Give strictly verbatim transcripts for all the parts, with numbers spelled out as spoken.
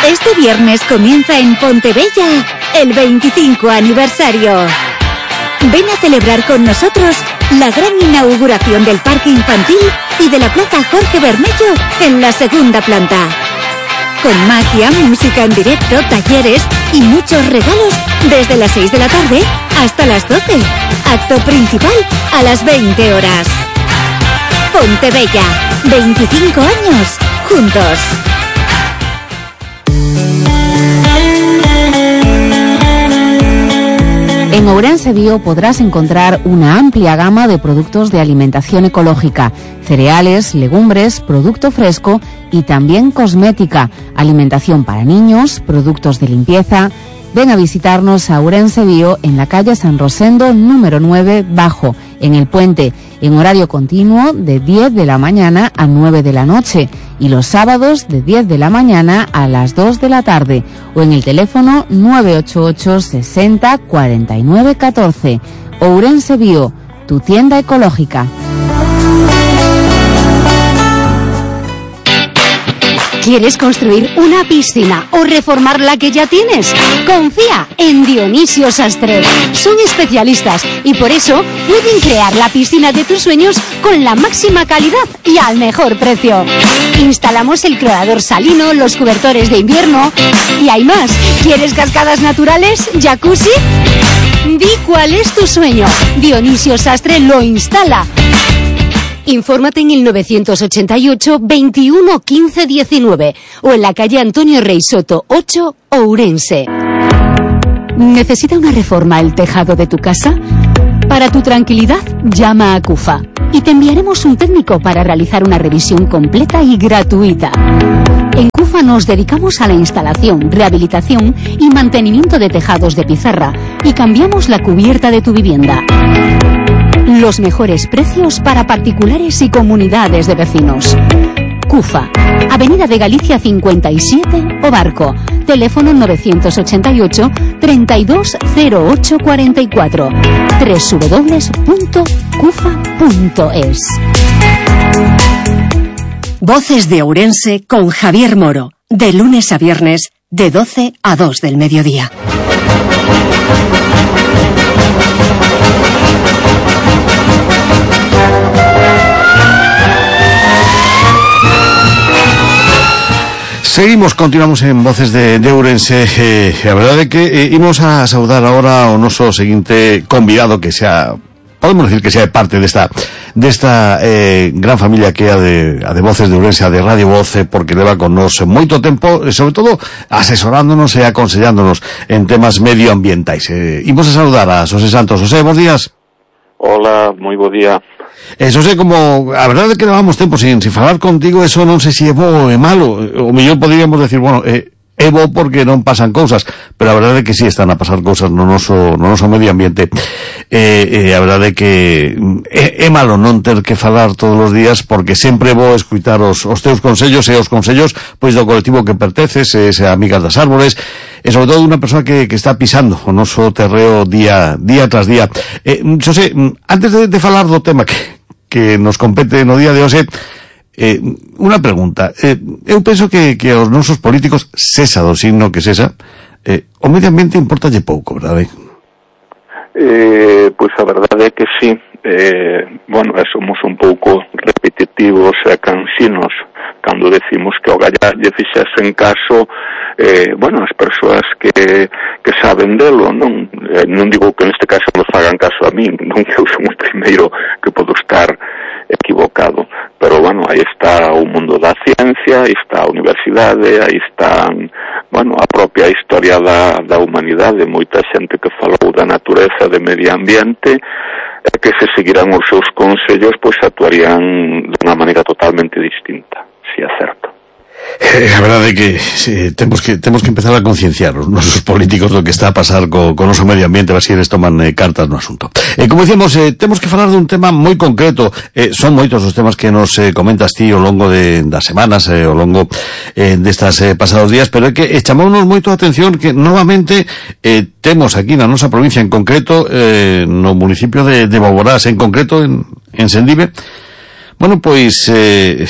Este viernes comienza en Pontebella el veinticinco aniversario. Ven a celebrar con nosotros la gran inauguración del parque infantil y de la plaza Jorge Bermello en la segunda planta. Con magia, música en directo, talleres y muchos regalos desde las seis de la tarde hasta las doce. Acto principal a las veinte horas. Pontebella, veinticinco años juntos. En Ourense Bio podrás encontrar una amplia gama de productos de alimentación ecológica, cereales, legumbres, producto fresco y también cosmética, alimentación para niños, productos de limpieza. Ven a visitarnos a Ourense Bio en la calle San Rosendo número nueve Bajo, en El Puente, en horario continuo de diez de la mañana a nueve de la noche y los sábados de diez de la mañana a las dos de la tarde o en el teléfono nueve ocho ocho sesenta cuarenta y nueve catorce. Ourense Bio, tu tienda ecológica. ¿Quieres construir una piscina o reformar la que ya tienes? Confía en Dionisio Sastre. Son especialistas y por eso pueden crear la piscina de tus sueños con la máxima calidad y al mejor precio. Instalamos el clorador salino, los cobertores de invierno y hay más. ¿Quieres cascadas naturales? ¿Jacuzzi? Di cuál es tu sueño. Dionisio Sastre lo instala. Infórmate en el novecientos ochenta y ocho, veintiuno, quince, diecinueve o en la calle Antonio Rey Soto ocho, Ourense. ¿Necesita una reforma el tejado de tu casa? Para tu tranquilidad, llama a CUFA y te enviaremos un técnico para realizar una revisión completa y gratuita. En CUFA nos dedicamos a la instalación, rehabilitación y mantenimiento de tejados de pizarra y cambiamos la cubierta de tu vivienda. Los mejores precios para particulares y comunidades de vecinos. CUFA, Avenida de Galicia cincuenta y siete, Obarco. Teléfono novecientos ochenta y ocho, treinta y dos, cero ocho cuarenta y cuatro. doble u doble u doble u punto cufa punto es. Voces de Ourense con Javier Moro. De lunes a viernes, de doce a dos del mediodía. Seguimos, continuamos en Voces de, de Ourense. Eh, a verdade é que eh, imos a saudar agora o noso seguinte convidado que sea, podemos decir que sea parte desta desta eh, gran familia que é a de, a de Voces de Ourense, a de Radio Voce, porque leva con nos moito tempo, e sobre todo asesorándonos e aconsellándonos en temas medioambientais. Eh, imos a saudar a Xosé Santos. Xosé, bons días. Hola, moi bo día. Eso sei, como a verdade é que levamos tempo sin, sin falar contigo, eso non sei se é bo ou é malo. O mellor poderíamos decir, bueno, é, é bo porque non pasan cousas, pero a verdade é que sí están a pasar cousas no noso, no noso medio ambiente. E, e a verdade é que é, é malo non ter que falar todos os días, porque sempre é bo escutar os, os teus consellos e os consellos pois do colectivo que perteces, e se Amigas das Árbores, e sobre todo unha persoa que, que está pisando o noso terreo día, día tras día. Eh, Xosé, antes de, de falar do tema que que nos compete no día de hoxe, eh, unha pregunta. Eh, eu penso que, que aos nosos políticos, sesa do signo que sesa, eh, o medio ambiente importalle pouco, verdade? Eh, pois a verdade é que sí. Eh, bueno, somos un pouco repetitivos e cansinos cando decimos que o galla lle fixesen caso, eh, bueno, as persoas que, que saben delo, non? Eh, non digo que neste caso nos fagan caso a min, non que eu son o primeiro que podo estar equivocado, pero bueno, aí está o mundo da ciencia, aí está a universidade, aí está, bueno, a propia historia da, da humanidade, moita xente que falou da natureza, de medio ambiente, e que se seguirán os seus consellos, pois actuarían de unha maneira totalmente distinta, si é certo. Eh, a verdade é que sí, temos que temos que empezar a concienciar os nosos políticos do que está a pasar co, co noso medio ambiente, a ver se eles toman eh, cartas no asunto. Eh, como dicíamos, eh, temos que falar dun tema moi concreto. Eh, son moitos os temas que nos eh, comentas ti ao longo de, das semanas, eh, ao longo eh, destas eh, pasados días, pero é que eh, chamounos moito a atención que novamente eh, temos aquí na nosa provincia, en concreto eh, no municipio de, de Boborás, en concreto en, en Sendive, bueno, pois eh,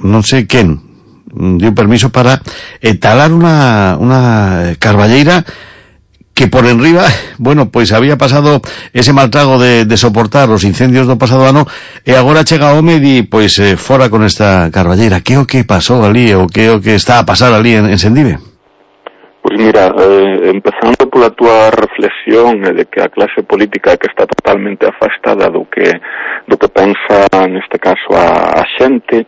non sei quen dio permiso para eh, talar una, una carballeira que por enriba, bueno, pois había pasado ese mal trago de, de soportar os incendios do pasado ano e agora chega o home e di, pois, eh, fora con esta carballeira. Que o que pasou ali, o que o que está a pasar ali en, en Sendive? Pois mira, eh, empezando pola túa reflexión eh, de que a clase política que está totalmente afastada do que do que pensa neste caso a, a xente,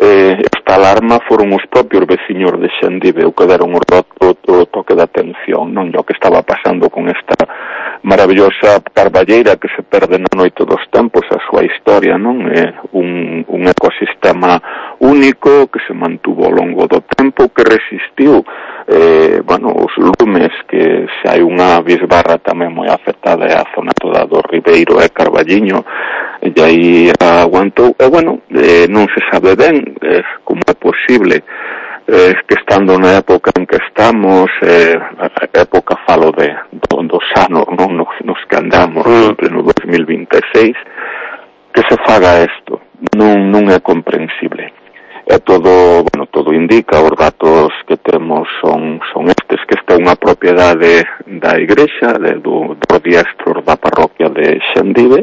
eh, esta alarma foron os propios veciños de Sendive o que deron o, o, o toque de atención, non? O que estaba pasando con esta maravillosa carballeira que se perde na noite dos tempos, a súa historia, non? É un, un ecosistema único que se mantuvo ao longo do tempo, que resistiu eh, bueno, os lumes, que se hai unha bisbarra tamén moi afectada é a zona toda do Ribeiro e Carballiño, e aí aguantou, e bueno, eh, non se sabe ben eh, como é posible eh, que estando na época en que estamos, eh, a época falo de do, dos anos, non nos, nos que andamos sempre no dos mil vinte e seis, que se faga isto, non, non é comprensible. É todo, bueno, todo indica, os datos que temos son, son estes, que esta é unha propiedade da Igrexa, de, do, do diestro da parroquia de Sendive,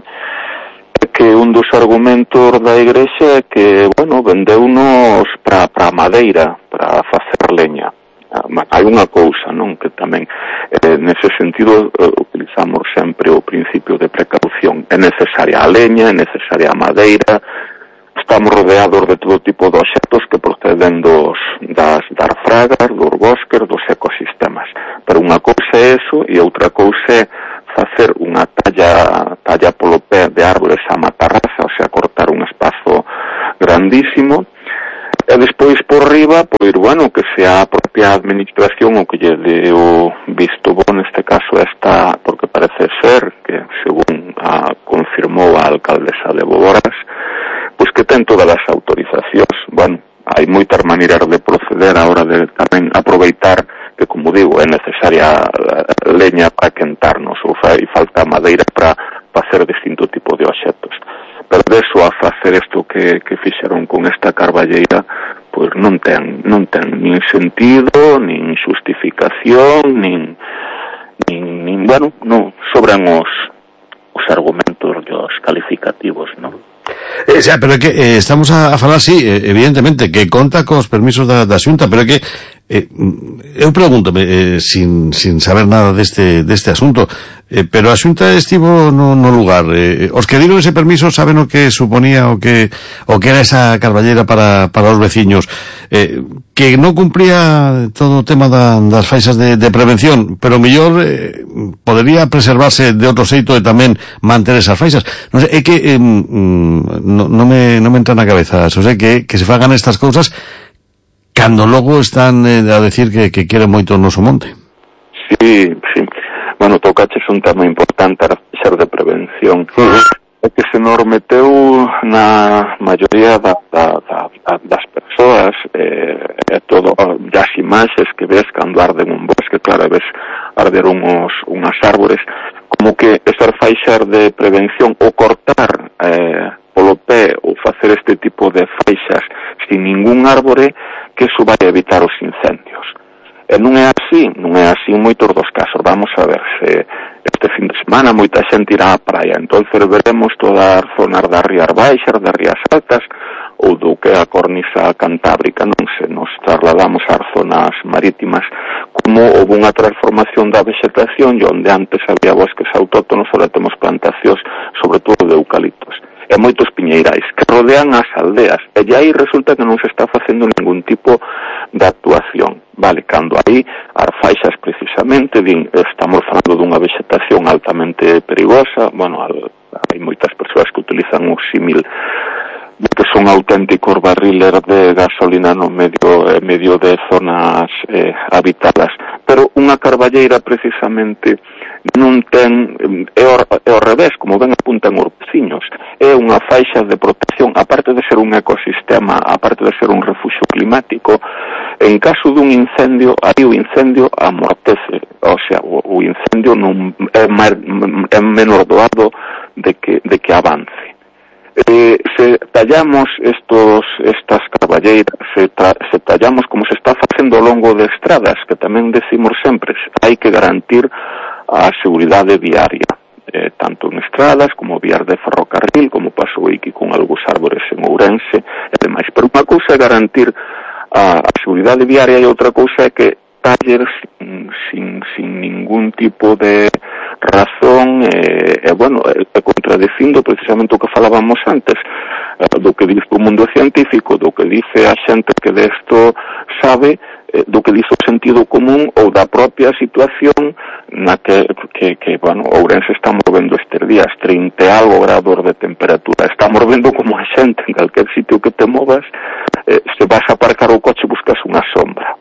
que un dos argumentos da Igrexa é que, bueno, vendeunos para a madeira, para facer leña. Hai unha cousa, non, que tamén, eh, nese sentido, eh, utilizamos sempre o principio de precaución. É necesaria a leña, é necesaria a madeira, estamos rodeados de todo tipo de obxectos que proceden dos, das, das fragas, dos bosques, dos ecosistemas. Pero unha cousa é eso e outra cousa é facer unha talla, talla polo pé de árboles a matarraza, ou sea, cortar un espazo grandísimo, e despois por riba, pois, bueno, que sea a propia administración o que lle dé o visto bo, neste caso esta, porque parece ser que, según a, confirmou a alcaldesa de Boboras, pois que ten todas as autorizacións. Bueno, hai moitas maneiras de proceder a hora de tamén aproveitar que, como digo, é necesaria leña para quentarnos, ou fai falta madeira para facer distinto tipo de obxectos. Pero deso a facer isto que, que fixeron con esta carballeira, pois non ten, non ten nin sentido, nin justificación, nin, nin, nin bueno, non, sobran os, os argumentos e os calificativos, non? Eh, xa, pero é que eh, estamos a, a falar, sí, evidentemente, que conta cos permisos da, da Xunta, pero é que eh, eu pregúntome, eh, sin, sin saber nada deste, deste asunto, eh, pero a Xunta estivo no, no lugar, eh, os que dieron ese permiso saben o que suponía o que o que era esa carballera para, para os veciños, eh, que non cumpría todo o tema da, das faixas de, de prevención, pero mellor eh, podería preservarse de outro xeito e tamén manter esas faixas. Non sei, é que eh, no, no, me, no me entra na cabeza, o sea, que, que se fagan estas cousas cando logo están eh, a decir que, que queren moito o noso monte. Sí, sí. Bueno, tocaches un tema importante, a ser de prevención. Uh-huh. É que se nos meteu na maioría da, da, da, das persoas, eh, é todo, as imaxes que ves cando arden un bosque, claro, ves arder uns, unhas árbores, como que esas faixas de prevención, ou cortar eh, polo pé, ou facer este tipo de faixas sin ningún árbore, que iso vai evitar os incendios. E non é así, non é así en moitos dos casos. Vamos a ver, se este fin de semana moita xente irá á praia, entonces veremos todas as zonas das rías baixas, das rías altas, ou do que é a cornisa cantábrica, non se nos trasladamos ás zonas marítimas, como houve unha transformación da vegetación, e onde antes había bosques autóctonos, ahora temos plantacións, sobre todo de eucaliptos, e moitos piñeirais que rodean as aldeas, e aí resulta que non se está facendo ningún tipo de actuación, vale, cando aí as faixas precisamente din, estamos falando dunha vegetación altamente perigosa, bueno, hai moitas persoas que utilizan o símil de que son auténticos barriles de gasolina no medio, eh, medio de zonas eh, habitadas, pero unha carballeira precisamente non ten, é ao, é ao revés, como ben apuntan os veciños, é unha faixa de protección, aparte de ser un ecosistema, aparte de ser un refuxio climático, en caso dun incendio, aí o incendio amortece, o sea, o, o incendio non é, mar, é menor doado de que, de que avance. eh, se tallamos estos estas carballeiras, se, ta, se tallamos como se está facendo ao longo de estradas, que tamén decimos sempre, hai que garantir a seguridade viaria, eh, tanto en estradas como vías de ferrocarril, como pasou aquí con algúns árbores en Ourense e demais. Pero unha cousa é garantir a, a seguridade viaria e outra cousa é que taller sin, sin, sin ningún tipo de razón e, eh, bueno, eh, contradicindo precisamente o que falábamos antes, eh, do que dice o mundo científico, do que dice a xente que desto sabe, eh, do que dice o sentido común ou da propia situación na que, que, que bueno, Ourense está movendo estes días trinta e algo grados de temperatura, está movendo como a xente en calquer sitio que te movas, eh, se vas a aparcar o coche buscas unha sombra,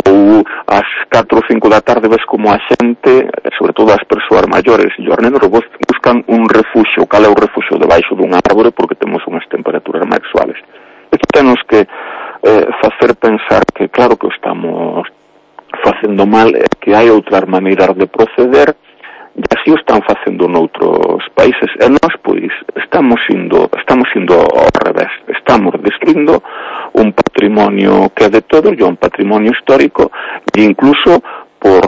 ou ás catro ou cinco da tarde ves como a xente, sobre todo as persoas maiores e os nenos, buscan un refuxio. Cal é o refuxio? Debaixo dun árbore, porque temos unhas temperaturas máis suaves. Isto temos que eh, facer pensar que claro que estamos facendo mal, e que hai outras maneiras de proceder, e así o están facendo noutros países, e nós, pois, estamos indo, estamos indo ao revés, estamos destruindo un patrimonio que é de todos, e un patrimonio histórico, e incluso por,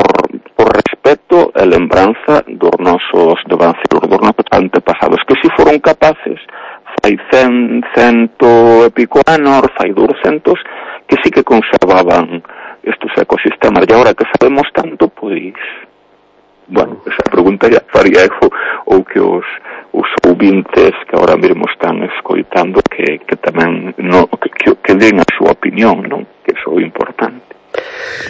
por respeto e lembranza dos nosos devanceiros, dos nosos antepasados, que si foron capaces, fai cen, cento e pico anos, fai douscentos, que sí que conservaban estes ecosistemas, e agora que sabemos tanto, pois, bueno, esa pregunta ya faría eu, ou que os, os ouvintes que ahora mesmo están escoitando que, que tamén no, que, que, que den a súa opinión, non? Que iso é importante.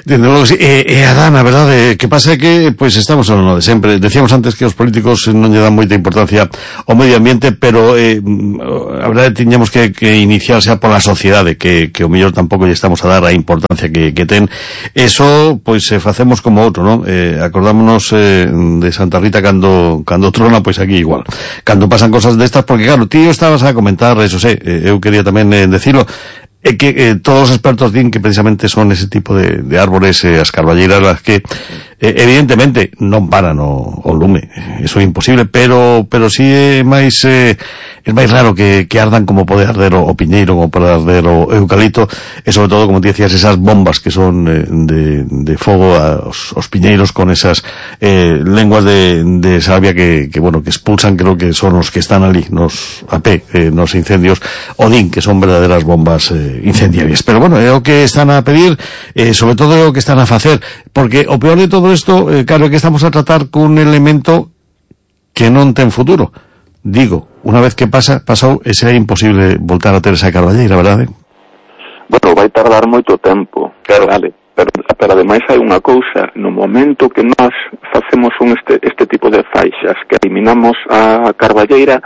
Desde logo, sí. E, e Adán, a verdade, que pasa é que, pois, estamos no de sempre. Decíamos antes que os políticos non lle dan moita importancia ao medio ambiente, pero eh, a verdade tiñamos que, que iniciar xa pola sociedade, que, que o mellor tampouco lle estamos a dar a importancia que, que ten. Eso, pois, eh, facemos como outro, non? Eh, acordámonos eh, de Santa Rita cando, cando trona, pois aquí igual. Cando pasan cosas destas, porque claro, tío, estabas a comentar, eso sei, eh, eu quería tamén eh, decirlo, é que eh, todos os expertos din que precisamente son ese tipo de, de árbores, eh, as carballeiras, las que eh, evidentemente non paran o, o lume, eso é imposible, pero pero si sí é máis eh, é máis raro que, que ardan como pode arder o, o piñeiro, como pode arder o eucalipto, e sobre todo, como te decías, esas bombas que son eh, de, de fogo aos, os piñeiros con esas eh, lenguas de, de salvia que, que, bueno, que expulsan, creo que son os que están ali, nos a pé, eh, nos incendios, o din que son verdaderas bombas eh, incendiarias. Pero bueno, é o que están a pedir, eh, sobre todo é o que están a facer, porque o peor de todo isto, eh, claro, é que estamos a tratar cun elemento que non ten futuro. Digo, unha vez que pasa, pasou, e será imposible voltar a ter esa carballeira, verdade? Bueno, vai tardar moito tempo, claro, vale. Pero, pero ademais hai unha cousa, no momento que nós facemos un este, este tipo de faixas, que eliminamos a carballeira,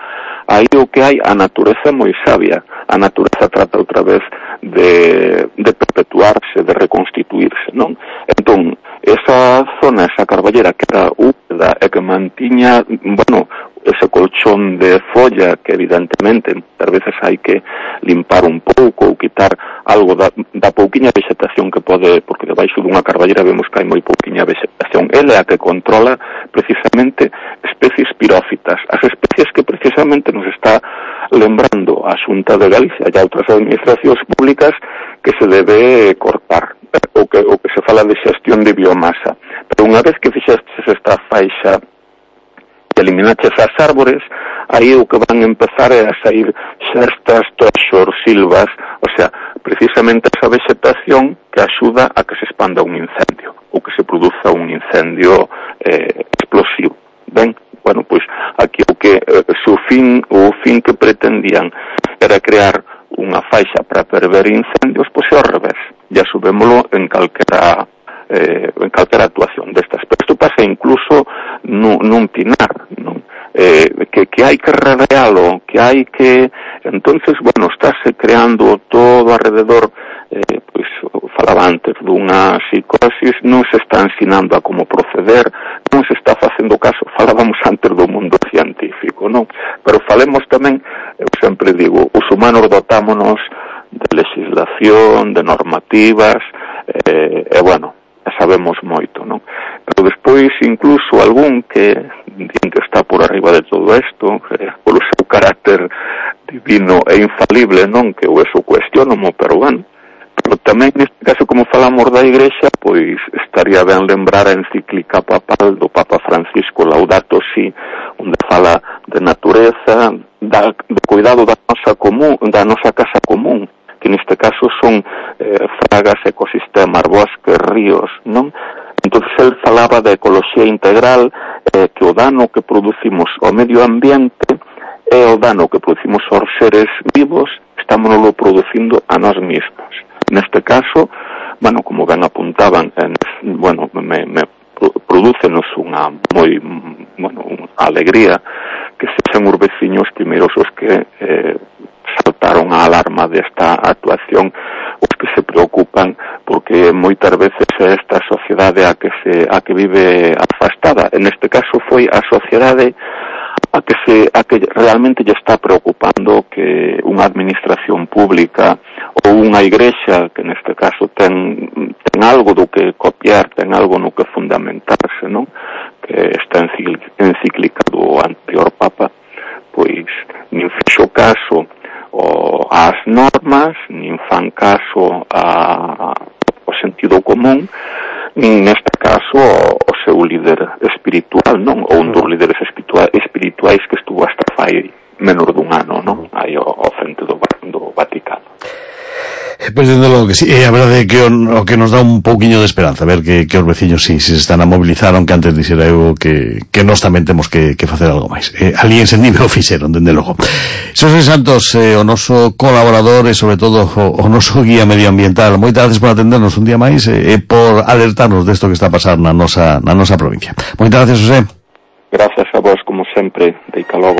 aí o que hai, a natureza é moi sabia. A natureza trata outra vez de, de perpetuarse, de reconstituirse, non? Entón, esa zona, esa carballeira que era húmeda e que mantiña, bueno, ese colchón de folla que evidentemente muchas veces hai que limpar un pouco ou quitar algo da, da pouquiña vegetación que pode, porque debaixo dunha carballeira vemos que hai moi pouquiña vegetación. Ela é a que controla precisamente especies pirófitas, as especies que precisamente nos está lembrando a Xunta de Galicia e a outras administracións públicas que se debe cortar, o que, o que se fala de xestión de biomasa. Pero unha vez que fixestes esta faixa e eliminaches as árbores, aí o que van empezar é a sair xestas, toxos, silvas, o sea, precisamente esa vegetación que axuda a que se expanda un incendio, ou que se produza un incendio eh, explosivo. Ben, bueno, pois aquí o que eh, o fin, o fin que pretendían era crear unha faixa para prever incendios, pois é ao revés, ya subémolo en calquera Eh, en calquera actuación destas. Pero isto pasa incluso nun, nun pinar, non? Eh, que, que hai que rodealo, que hai que... Entonces, bueno, estáse creando todo alrededor, eh, pois, falaba antes dunha psicosis, non se está ensinando a como proceder, non se está facendo caso, falábamos antes do mundo científico, non? Pero falemos tamén, eu sempre digo, os humanos dotámonos de legislación, de normativas, eh, e bueno, sabemos moito, non? Pero despois incluso algún que din que está por arriba de todo isto, eh, polo seu carácter divino e infalible, non, que eu eso cuestiono, pero bueno. Pero tamén, neste caso, como falamos da Igrexa, pois estaría ben lembrar a encíclica papal do Papa Francisco Laudato Si, onde fala de natureza, da, de cuidado da nosa común, da nosa casa común, que neste caso son eh, fragas, ecosistemas, bosques, ríos, non? Entón, el falaba de ecoloxía integral, eh, que o dano que producimos ao medio ambiente e o dano que producimos aos seres vivos, estámonoslo producindo a nós mesmos. Neste caso, bueno, como ben apuntaban, en, bueno, me, me prodúcenos unha moi, bueno, unha alegría que sexan os veciños primeiros os que eh, saltaron a alarma desta actuación, os que se preocupan, porque moitas veces é esta sociedade a que se a que vive afastada. En este caso foi a sociedade a que se a que realmente lle está preocupando que unha administración pública ou unha igrexa, que neste caso ten ten algo do que copiar, ten algo no que fundamentarse, non? Que esta encíclica do anterior Papa, pois nin fixo caso o, ás normas, nin fan caso a, ao sentido común, nin neste caso o, o seu líder espiritual, non? Ou un dos líderes espirituais, espirituais que estuvo hasta fai menor dun ano, non? Aí ao, ao frente do, do Vaticano. Pois, dende logo que sí, e a verdade é que o, o que nos dá un pouquiño de esperanza, ver que, que os veciños sí, se están a mobilizar, aunque antes dixera eu que, que nós tamén temos que, que facer algo máis. Eh, ali en Sendive o fixeron, dende logo. Xosé Santos, eh, o noso colaborador e sobre todo o, o noso guía medioambiental, moitas gracias por atendernos un día máis e eh, por alertarnos desto que está a pasar na nosa, na nosa provincia. Moitas gracias, José. Gracias a vos, como sempre, de Icalogo.